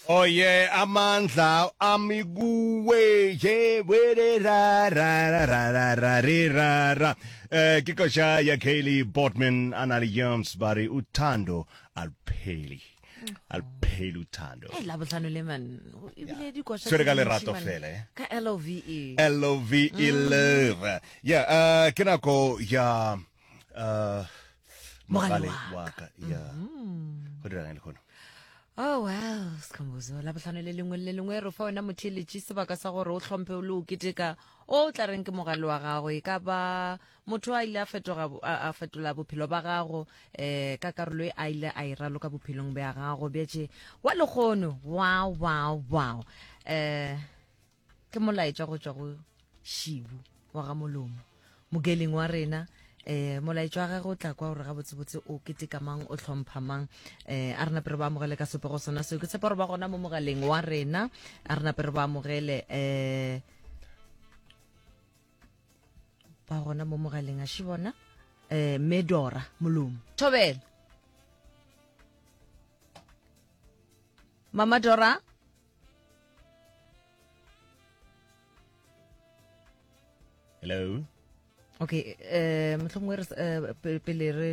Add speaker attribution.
Speaker 1: Oh yeah, amandla ami kuwe ye were ra ra ra ra ra ra re ra ra. Eh ke koša ya Kaylee Boardman a na le Jones ba re uthando alupheli. Alupheli uthando.
Speaker 2: Hey, labohlano le man ebile dikoša
Speaker 1: Tshwere ka
Speaker 2: tse
Speaker 1: lerato
Speaker 2: dintši, man.
Speaker 1: fela, eh.
Speaker 2: ka L O V E
Speaker 1: L O V E love. Yeah, uh ke nako ya uh
Speaker 2: Mogale
Speaker 1: mogale
Speaker 2: wa
Speaker 1: wa ka. Yeah. Go dirang le lehono?
Speaker 2: Oh well, Skhumbuzo, labohlano le lengwe le le lengwe re fa wena motheeletši sebaka sa gore o hlomphe o le o keteka o tla reng ke mogale wa gago e ka ba motho a ile a fetoga a a fetola bophelo ba gago eh ka karolo e a ile a e raloka bophelong bja gago bjetše wa lekgono wow wow wow eh Ke molaetša go tšwa go Šibu wa ga Molomo, mogeling wa rena. Eh, molaetša wa gagwe o tla kwa gore gabotsebotse o keteka mang, o hlompha mang. Eh, a re nape re ba amogele ka sepego sona seo. Ke tshepa gore ba gona mo mogaleng wa rena. A re nape re ba amogele eh, ba gona mo mogaleng a še bona eh, Medora Molomo. Thobela. Mama Dora.
Speaker 1: Hello.
Speaker 2: Okay, eh mohlomongwe re eh, pele re.